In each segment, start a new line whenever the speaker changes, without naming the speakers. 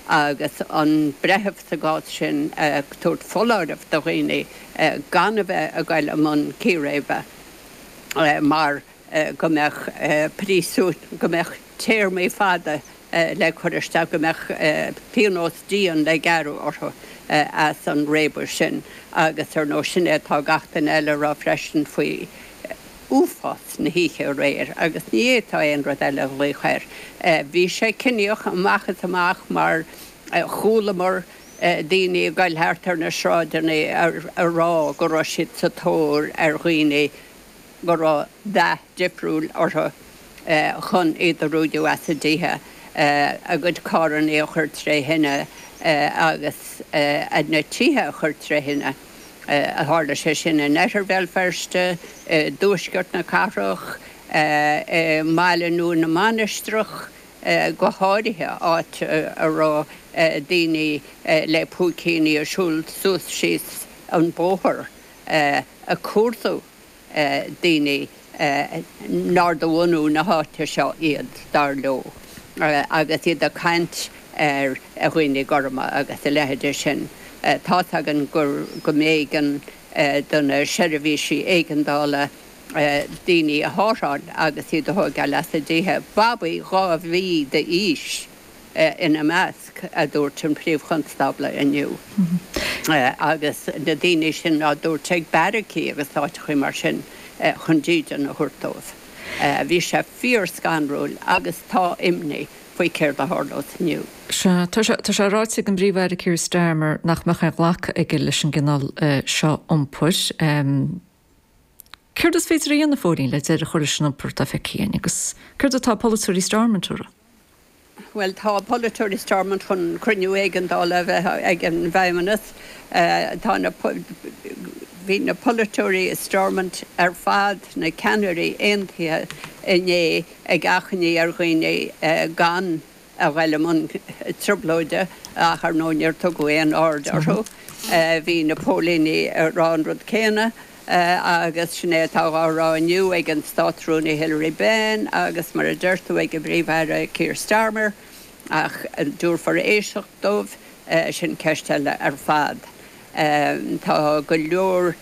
Agus an breitheamh sa gcás sin ag tabhairt foláireamh do dhaoine gan a bheith ag goil i mbun círéibe mar go mbeadh príosún, go mbeadh téarmaí fada le cur isteach, go mbeadh pionós dian le gearradh orthu as an réabadh sin. Agus ar ndóigh sin é atá gach duine eile a rá freisin faoi uafás na hoíche aréir agus ní fhéadfá aon rud eile a ghlaoch air. Bhí sé ciníoch amach is amach mar chualamar daoine ag goil thart ar na sráideanna ag rá go raibh siad sa tóir ar dhaoine go raibh dath difriúil orthu chun iad a ruaigeadh as a dtithe, a gcuid carranna a chur tré thine agus na tithe a chur tré thine. Tharla sé sin in oirthear Bhéal Feirste, i dtuaisceart na cathrach, i mBaile Nua na Mainistreach go háirithe, áit a raibh daoine le púicíní ag siúl suas síos an bóthar ag cuardú daoine nár de bhunú na háite seo iad, dar leo, agus iad ag caint ar dhaoine gorma agus a leithéide sin. Tá's againn gur go mb'éigean do na seirbhísí éigeandála daoine a tharrtháil agus iad a thóigeáil as a dtithe, babaí 2 mhí d'aois! ina measc, a dúirt an Príomh-Chonstábla inniu. Agus na daoine sin á dtabhairt ag beairicí agus áiteachaí mar sin chun dídean a thabhairt dóibh. Bhí sé fíor-scanrúil agus tá imní faoi céard a tharlós inniu.
Sea, tá sé, tá sé ráite ag an bPríomh-Aire Keir Starmer nach mbeadh aon ghlacadh aige leis an gcineál seo iompair. Céard is féidir a dhéanamh, a Phóilín, le deireadh a chur leis an iompar atá feicthe againn agus céard atá polaiteoirí Stormont a rá?
Bhuel, tá polaiteoirí Stormont chun cruinniú éigeandála a bheith ag an bhFeidhmeannas. Tá na, bhí na polaiteoirí i Stormont ar fad, na ceannairí, aontaithe inné ag achainí ar dhaoine gan a ghoil i mbun trioblóide ach ar ndóigh níor tugadh aon aird orthu. Bhí na póilíní ag rá an rud céanna. Agus sin é atá á rá inniu ag an Státrúnaí Hilary Benn agus, mar a deir tú, ag an bPríomh-Aire Keir Starmer. Ach an dtabharfar éisteacht dóibh? Sin ceist eile ar fad. Tá go leor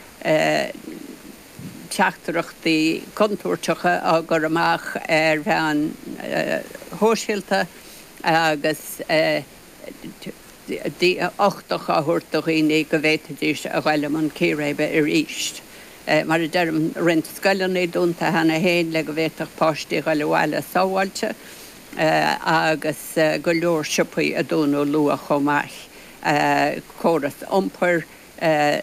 teachtaireachtaí contúirteacha á gcur amach ar mheáin shóisialta agus. uchtach á thabhairt do dhaoine go bhféadfaidís a ghoil i mbun círéibe arís. Mar a deirim, roinnt scoileanna dúnta cheana féin le go bhféadfadh páistí a ghoil abhaile sábháilte agus go leor siopaí a dúnadh luath chomh maith. Córas iompair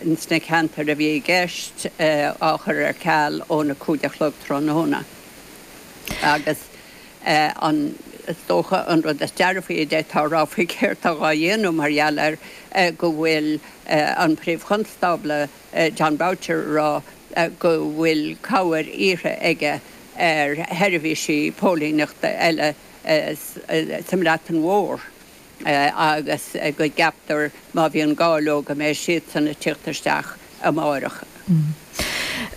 ins na ceantair a bhí i gceist á chur ar ceal óna 5 a chlog tráthnóna agus an, is dócha, an rud is dearfaí a d'fhéadfá a rá faoi céard tá dhá dhéanamh mar gheall air go bhfuil an Príomh-Chonstábla Jon Boutcher ag rá go bhfuil cabhair iarrtha aige ar sheirbhísí póilíneachta eile sa mBreatain Mhór. agus go gceaptar má bhíonn gá leo go mbeidh siadsan ag tíocht isteach amáireach.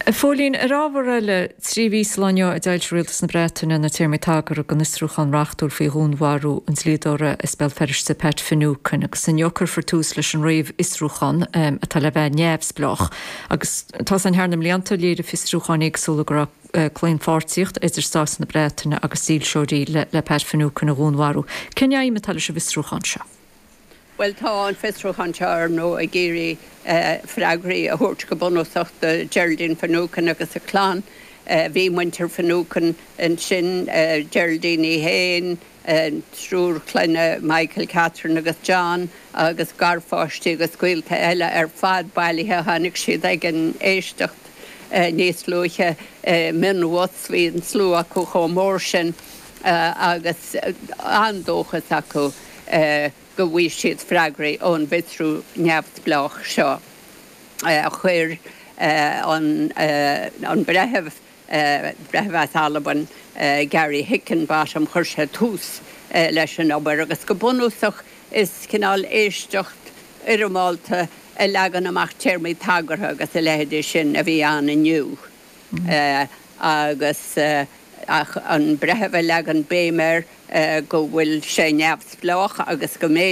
A Phóilín, ar ábhar eile, 3 mhí sa lá inniu a d'fhoilsigh Rialtas na Breataine na téarmaí tagartha don fhiosrúchán reachtúil faoi dhúnmharú an dlíodóra as Béal Feirste Pat Finucane agus inniu cuirfear tús leis an réamhfhiosrúchán atá le bheith neamhspleách agus tá a fhios againn thar na mblianta léirigh fiosrúcháin éagsúla go raibh claonpháirtíocht idir Stát na Breataine agus dílseoirí le Pat Finucane a dhúnmharú. Cén aidhm atá leis an bhfiosrúchán seo?
Bhuel, tá an fiosrúchán seo, ar ndóigh, ag iarraidh freagraí a thabhairt go bunúsach do Geraldine Finucane agus a clann. Bhí muintir Finucane ansin, Geraldine í féin, an triúr clainne, Michael, Catherine agus John, agus garpháistí agus gaolta eile ar fad bailithe. Tháinig siad ag an éisteacht níos luaithe i mionbhus, bhí an slua acu chomh mór sin agus an-dóchas acu go bhfaighidh siad freagraí ón bhfiosrú neamhspleách seo. Chuir an breitheamh Breitheamh as Albain, Gary Hickinbottom, chuir sé tús leis an obair agus go bunúsach is cineál éisteacht fhoirmeálta a leagann amach téarmaí tagartha agus a leithéidí sin a bhí ann inniu agus ach an breitheamh ag leagan béim air go bhfuil sé neamhspleách agus go mbeidh.